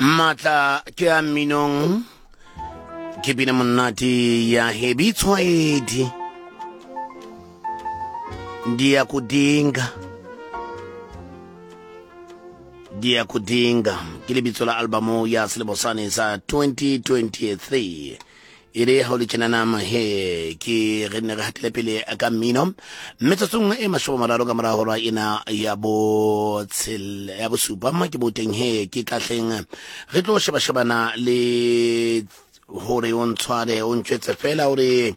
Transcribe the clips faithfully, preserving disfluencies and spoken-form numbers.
Matla ke a mminong, ke bina monate ya Hebi Tshwaedi. Ndiyakudinga, Ndiyakudinga ke lebitso la albamo ya selemo sane sa twenty twenty-three. E le ha o le tjenana he ke re ne re hatele pele ka mmino metsotsong e mashome a mararo ka mora hora ena ya bo tshel ya bosupa ma ke boteng he ke tlahleng re tlo sheba shebana le hore o ntshware o ntjwetse fela hore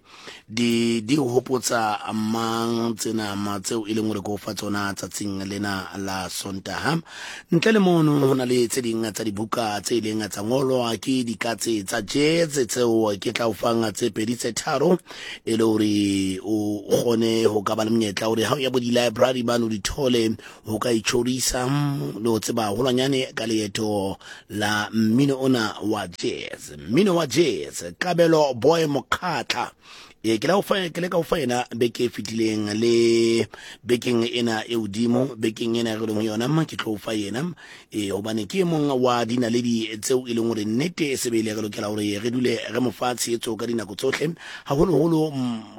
di di hopotsa mang tsena ma tseo e leng hore ke o fa tsona tsatsing lena la Sontaha. Ntle le mono ho na le tse ding tsa dibuka tse ileng tsa ngolwa ke dikatse tsa jazz tseo ke tla o fang tse pedi tse tharo e le hore o kgone ho ka ba le monyetla hore ha o ya bo di-library bano di thole ho ka itjhorisa le ho tseba haholwanyane ka leeto la mmino ona wa jazz. Mmino wa jazz, Kabelo Boy Mokgatla. E ke la o fa ke le ka o fa yena beke e fetileng le bekeng ena e hodimo, bekeng ena re leng ho yona ma ke tlo o fa yena e hobane ke e mong wa dinaledi tseo e leng hore nnete e sebele re lokela hore re dule re mo fa tshehetso ka dinako tsohle, haholoholo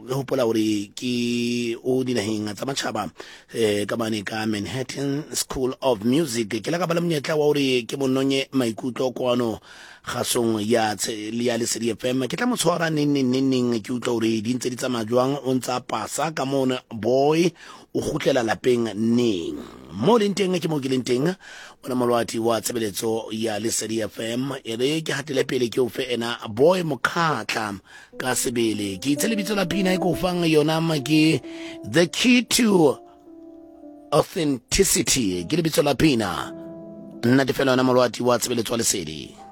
re hopola hore ke o dinaheng tsa matjhaba eh ka mane ka Manhattan School of Music. Ke la ka ba le monyetla wa hore ke mononye maikutlo kwano kgasong ya ya Lesedi F M. Ke tla mo tshwara neng neng neng neng ke utlwa hore di ntse di tsamaya jwang, o ntsa pasa ka mona boy o kgutlela lapeng neng. Mo leng teng ke mo ke leng teng ona molwati wa tshebeletso ya Lesedi F M. E re ke hatele pele ke o fe ena Boy Mokgatla ka sebele. Ke itse lebitso la pina e ke o fang yona ma ke The Key to Authenticity, ke lebitso la pina. Nna ke fela ona molwati wa tshebeletso wa Lesedi.